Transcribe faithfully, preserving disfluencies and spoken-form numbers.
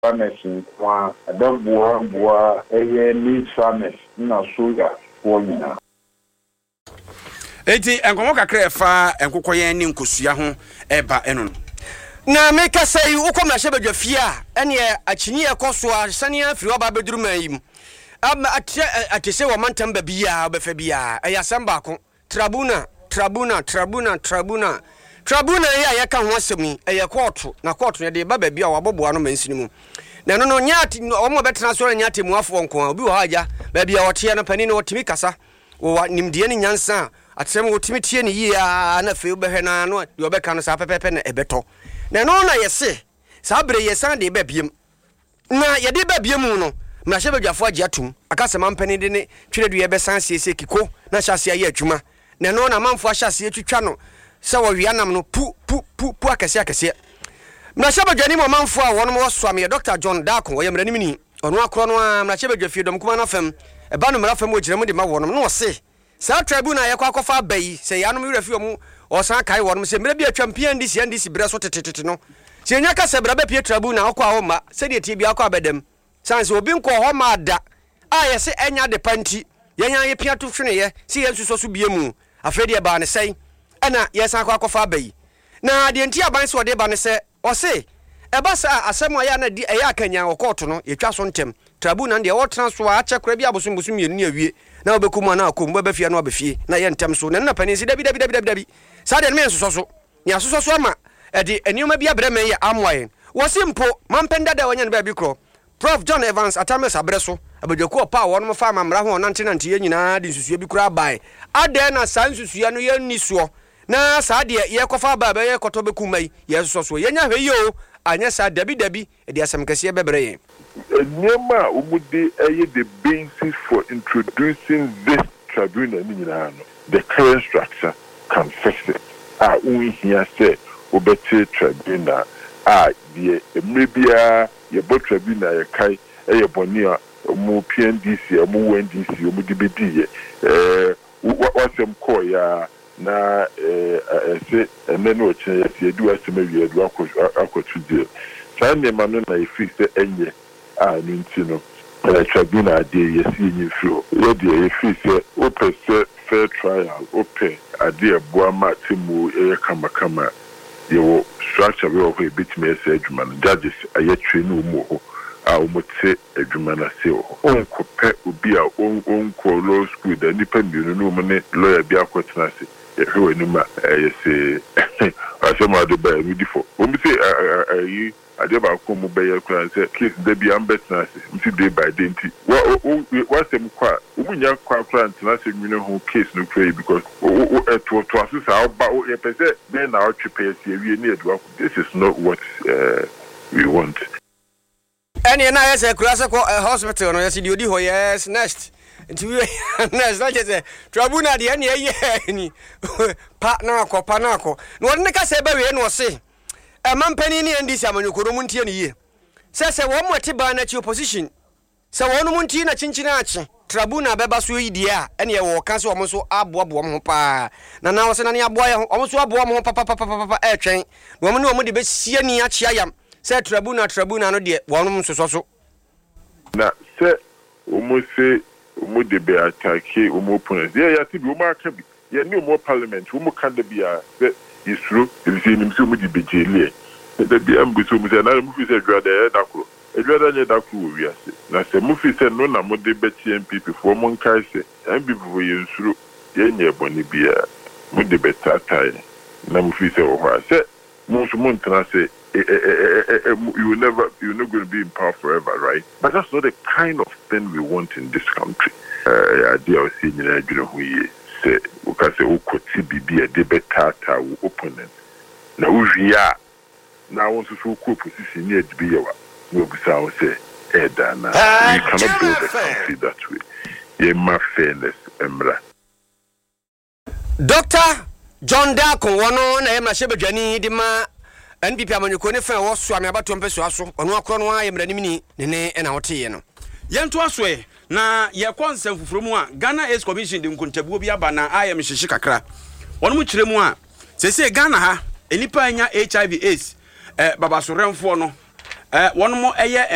Farmers nko a ɛbɛboa boa ɛyɛ maize farmers na soya foɔ nyinaa. Enti nkɔmmɔ kakra ɛfa nkokɔyɛn ne nkosua ho ɛba ɛno no. Na mekasa yi, wokɔ mmarahyɛbadwa fie a, ɛneɛ akyinni ɛkɔ so a sane afiri hɔ aba abɛduru man yi mu ama akyerɛ ate sɛ wɔ mantam baabiaa wobɛfa biaa ɛyɛ asɛm baako: tribunal, tribunal, tribunal, tribunal. Tribunal yi a yɛka ho asɛm yi, ɛyɛ kɔɔto, na kɔɔto no yɛde ba baabi a wɔabɔboa no mansini mu, na ɛno no nyɛ ate wɔn a bɛtena so no nyɛ atemmuafoɔ nko a. Obi wɔ hɔ agya baabi a ɔteɛ no, panin no ɔtumi kasa, wɔwɔ nimdeɛ ne nyansa a atɛm wɔtumi tie ne yie a, na afei wobɛhwɛ no no deɛ ɔbɛka no saa pɛpɛpɛ na ɛbɛtɔ. Na ɛno na yɛse saa bere yɛsan de ba biem, na yɛde ba biem mu no, mmarahyɛbadwafoɔ agye atom aka sɛ mampanin de ne twerɛdua bɛsan siesie kiko na hyɛ aseɛ ayɛ adwuma. Na ɛno na amanfoɔ ahyɛ aseɛ twitwa no sɛ wɔwea nam no pu pu pu pu akɛseɛ akɛseɛ. Mmarahyɛbadwani mu ɔmanfoɔ a wɔnom wɔ soameɛ, Doctor John Darko, ɔyɛ mmaranimni, ɔno akorɔ no a mmarahyɛbadwa fie dɔm kuma no afam ɛba no mmara fam wɔgyina mu de ma wɔnom, na ɔse saa tribunal a yɛkɔ akɔfa aba yi, sɛ yɛanom werɛ fi ɔmo, ɔsan kae wɔnom sɛ mmerɛ bi atwam P N D C N D C berɛ so tetetete no, sɛ yɛnya ka sɛ bra bɛpie tribunal, ɔkɔ a ɔmma sɛdeɛ tie bia akɔ abɛdam sane sɛ obi nkɔ hɔ ma ada a yɛsɛ ɛnya ade pa nti yɛnya yɛpia to hweneyɛ sɛ yɛnsusɔ so bie mu. Afei deɛ baa ne sɛn ɛna yɛsan akɔ akɔfa aba yi? Na deɛ nti aban sɛ ɔde ba ne sɛ ɔse ɛba saa asɛm a ɛyɛ na di ɛyɛ akanya wɔ kɔɔto no, yɛtwa so ntɛm. Tribunal deɛ wɔtena so a akyɛ kora bi abosom bosom mmienu ne awie na wobɛkɔ mu anaa akɔ mu, wobɛba fie na waba fie na yɛ ntɛm so. Na ɛno na panin sɛ dabi, dabi, dabi, dabi, dabi, saa deɛ no meyɛ nsosɔ so ne asosɔ so ama ɛde nneɛma bi abrɛ mɛn yɛ amoa yɛn. Wɔse mpo mampɛn dada a wɔnyɛ no baabi korɔ, Prof John Evans Atta Mills abrɛ so, abadwakuo ɔpa a wɔnom fa ama mmara ho ɔnantenante yɛ nyinaa de nsusua bi koraa bae. Adɛn na saa nsusua no yɛnni soɔ, na saa deɛ yɛkɔfa aba a bɛyɛ kɔtɔ bɛkum ma yi yɛsosɔ soɔ? Yɛnya hwɛ yie o, anyɛ saa, dabi dabi, ɛde asɛm kɛseɛ bɛbrɛ yɛn. Nneɛma a wɔde ɛyɛ the basis for introducing this tribunal ne nyinaa no, the current structure can fix it a wonhia sɛ wobɛte tribunal a deɛ mmerɛ biara yɛbɔ tribunal. Yɛkae ɛyɛ bɔne a ɔmo P N D C a ɔmo wɔ N D C ɔmo de bɛdiiɛ ɛɛ wasɛm kɔɔeɛ a na ɛɛ ɛsɛ ɛnɛ ne ɔkyerɛ yɛsɛ yɛde wasɛm awie, yɛde wakɔ akɔto jail. Saa nneɛma no na yɛfiri sɛ ɛnyɛ a ɛno nti no ɛɛ tribunal adeɛ yɛsi yɛnyi mfiri hɔ. Yɛdeɛ yɛfiri sɛ wopɛ sɛ fair trial, wopɛ adeɛ ɛboa ma atemmuo ɛyɛ kamakama, yɛwɔ structure bi wɔ hɔ a ebɛtumi ɛsɛ adwuma no. Judges ayɛ train wɔn wɔ hɔ a wɔn te adwuma no ase wɔ hɔ. Ɔnkɔpɛ obi a ɔnkɔ law school da, nipa mmienu ne wɔn ne lawyer bi akɔtena ase, yɛhwɛ wɔ anim a ɛyɛ sɛ asɛm a ɔde ba yɛ no di fɔ. Wɔn sɛ ɛyi adeɛ baako a wɔn bɛyɛ koraa sɛ case da bi ambɛtena ase nti day by day nti wa wasɛm kɔ a wɔn nya kɔ akora ntena ase nwene ho case no kora yi because ɛtoɔtoa so saa ɔba yɛpɛ sɛ bɛyɛ na ɔtwe pɛ yɛsi awie ne yɛde wakɔ. This is not what uh, we want. Ɛneɛ na ayɛ sɛ kura sɛ kɔ hospital no, yɛsɛ deɛ ɔdi hɔ, yes, next, nti wie next, na kyerɛ sɛ tribunal deɛ ɛneɛ ɛyɛ ni pa na akɔ pa na akɔ. Na wɔde ne kasa ɛbɛwie na ɔse ɛma mpanin ne N D C amanyɔkuo no mu ntie ne yie sɛ sɛ wɔn mo ɛte ban n'akyi, opposition, sɛ wɔn mo ntie na kyinkyin akye tribunal bɛba so yi deɛ a, ɛneɛ wɔka sɛ wɔn nso aboaboa wɔn ho paa na na wɔsɛ na ne aboa yɛ ho, wɔn nso aboa wɔn ho papapapapa ɛretwɛn na wɔn ne wɔn de bɛsie ni akyea yam sɛ tribunal tribunal no deɛ wɔn nsosɔ so. Na sɛ wɔn se wɔn de bɛ attack wɔn opponents yɛ yɛate bi, wɔn aka bi, yɛne wɔn wɔ parliament, wɔn ka da bi a sɛ yɛsuro efisɛ yɛnim sɛ wɔn de bɛ jail yɛ da bi a mbu sɛ wɔn sɛ na mo fi sɛ adwada yɛ da koro, adwada nyɛ da koro wɔ wiase. Na sɛ mo fi sɛ no na mo de bɛkye N P P foɔ, mo nkae sɛ N P P foɔ yɛn nsuro, yɛnyɛ bɔne biara, mo de bɛtaataa yɛn na mo fi sɛ wɔ hɔ a sɛ mo nso mo ntena ase. You will never, you're not going to be in power forever, right? But that's not the kind of thing we want in this country. Adeɛ a ɔsi nyinaa adwene ho yie sɛ woka sɛ wokɔte biribi a ɛde bɛtaataa wo opponent na wowie a na wo nso so wokɔ opposition ne ade bi yɛ wa na wabusa wo sɛ ɛɛda anaa. We cannot build a country that way. Yɛma fairness mmra. Doctor John Darko, wɔno na yɛ mmarahyɛbadwani de ma N P P amanyɔkuo ne fɛn a ɛwɔ Soame abatoɔ mpɛsoa so. Ɔno akorɔ no a yɛ mmaranimni ne ne ɛna woteeɛ no. Yɛntoa so ɛ na yɛkɔ nsɛm foforɔ mu a, Ghana AIDS Commission de nkontabuo bi aba na ayɛ me hyehye kakra. Wɔn mu kyerɛ mu a seesei Ghana ha nnipa anya H I V AIDS eh, babasorɛmfoɔ no eh, wɔn mo ɛyɛ